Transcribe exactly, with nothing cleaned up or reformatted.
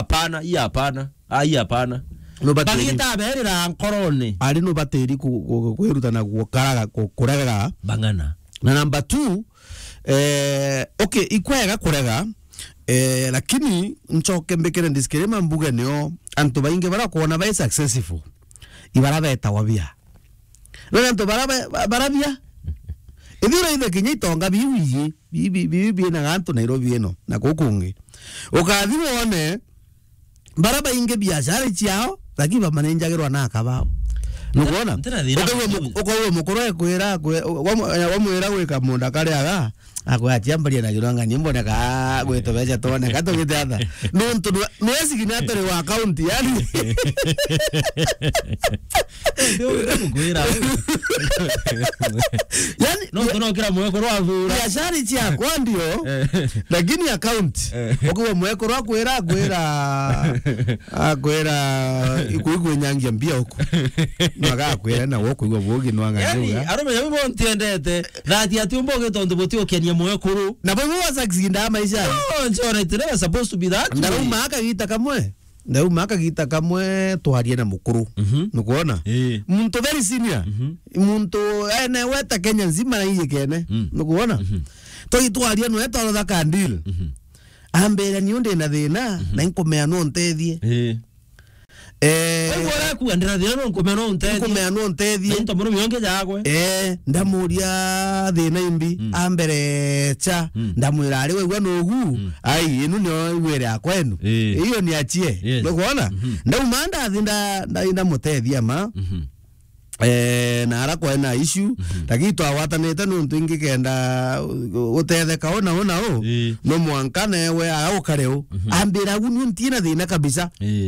Hapana, hii hapana. Ah, hii hapana. Nubati- Bagita berira nkorone. Ari nubatiri ku-, ku-, kwirutana gukaraga, ku-, kuregaga. Bang'ana. Na number two, eh, okay, ikwega kurega, eh, lakini ncoke mbikire disclaimer mbuge nio antu baingi bara kwona bai successful, ibara betagwa bia. Na antu bara ba-, ba-, bara bia. Ithira ithe kinya itonga biu iji, bi-, bi-, bi-, bi-, bina gantu Nairobi ino, na kukungi. Ukathi wone, bara baingi biashara ciao, lakini bamanenjagirwa na akabao. Nukwona? Ntira thina. Ukaigua mu-, ukaigua mukuru ekwira, akwe-, wamu-, wamwira gwika munda kariaga, akwe atia mbaria na Githwang'ani, mboneka gwitu beca twoneka tugite atha. Nuntu nwe-, nwe signature wa account, yani. Ndio, ndio, kwira. Yani, no, ya-, tunokira mwekuru athura. Biashara ciakwa ndio, eh, lakini account. Eh. Ukiwa mwekuru akwira, akwira, akwira, iku-, ikwenyangia mbia uku. Magakwira na wo kuigua bugi no ang'ani. Yani, uga. Arume yau bo ntiendete. Thati ati umbo ugi tondu buti ukenia mwekuru. Na bo bo succeed a maisha. No, it's all right. Never supposed to be that way. Ndauma akagita kamwe. Ndauma akagita kamwe twarie na mukuru. Mhm. Nukwona? Ii. Muntu very senior. Mhm. Muntu ene weta Kenya nzima na iyikene. Mm. Nukwona? Mhm. Twagitwaria nwe twarotha ka deal. Mhm. Ambira ni undi na thina, mhm, na inkumea no ntethie. Ii. Eh, kwa hivyo arakuga ndira thina no nkumea no ntethie. Nkumea no ntethie. Na into murume onge jagwe. Eh, ndamuria thina imbi, mm, ambere cha, mm, ndamwira ari wegwa nugu, mm, ai, inu nio igwere ya kwenu. Eh. Iyo ni achie. Yes. Nukwona? Mhm. Ndauma ndathi nda-, nda-, ndamutethia ma. Mhm. Eh, na ara kwena issue, mhm, lakini twagwatanite nuntu ingikenda u-, utetheka una una u, eh, no mwanka newe aukare u. Mhm. Ambira, "Agu ni untie na thina kabisa." Eh.